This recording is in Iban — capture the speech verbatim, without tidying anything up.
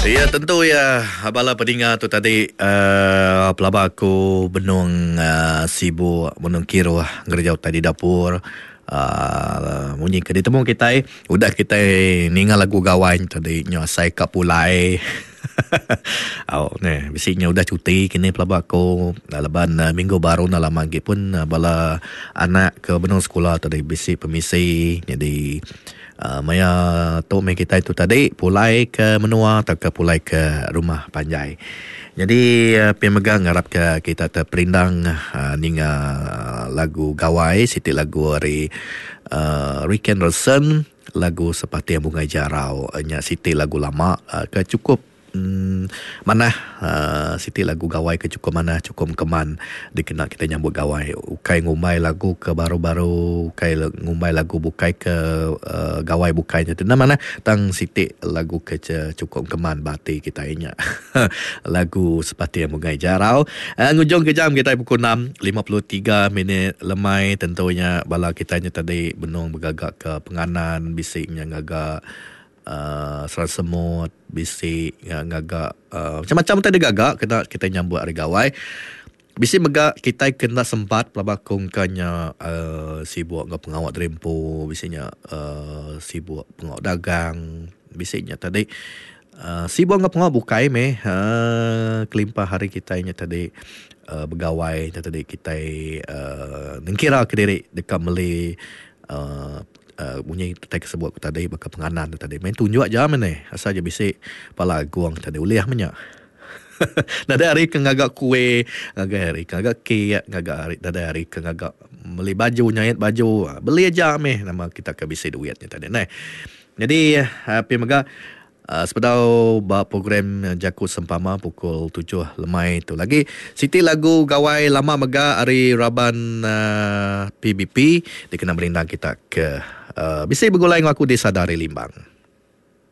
Ya tentu ya bala peninga tu tadi uh, pelaba aku benung uh, sibuk benung kiruh ngereja utai di dapur. Uh, munyi ke ditemu kitai udah kitai ninga lagu gawai tadi nyo asai ka pulai. Au ne bisi nya udah cuti kini pelaba aku laban uh, minggu baru enda lama agi pun uh, bala anak ke benung sekula tadi bisi pemisi jadi uh, maya tu meh kitai tu tadi pulai ke menua tauka pulai ke rumah panjai. Jadi uh, pia mega ngarap ke kita terperindang uh, ninga lagu gawai siti lagu ari uh, Rick Anderson, lagu Sepating Bungai Jarau nya siti lagu lama uh, ke cukup Hmm, manah uh, siti lagu gawai ke cukup manah cukup keman dikena kita nyambut gawai. Ukai ngumbai lagu ke baru-baru, ukai ngumbai lagu bukai ke uh, gawai bukai nya tu mana tang siti lagu ke cukup keman bati kita nya. Lagu Sepating Bungai Jarau. Uh, ngujung ke jam kita pukul enam lima puluh tiga minit lemai tentunya bala kita nya tadi benung bergagak ke penganan bisi nya ngagak Uh, serang semut, bisi ngagak uh, macam-macam tadi gagak kena kita nyambut hari gawai. Bisi mega kita kena sempat pelaba kongkanya uh, sibuk ngau pengawak derimpu, bisinya uh, sibuk pengawak dagang, bisinya tadi uh, sibuk ngau pengawak bukai meh uh, kelimpah hari kita nya tadi uh, begawai tadi kita uh, nengkira ke diri dekat meli uh, Uh, bunyi kita sebut aku tadi baka penganan tadi main tunjuk aja mene asal je bisi pala agung tadi ulih menya. Nadai hari ke ngagak kuih, ngagak hari ke ngagak kek, ngagak hari nadai hari ke ngagak beli baju nyait baju, beli aja meh nama kita ke bisi duitnya tadi nah. Jadi uh, pi mega Uh, sepedau ba program Jaku Sempama pukul tujuh lemai tu lagi siti lagu gawai lama mega ari raban uh, P B P dikena merindang kita ke uh, bisi begulai ngau aku di Sadari Limbang.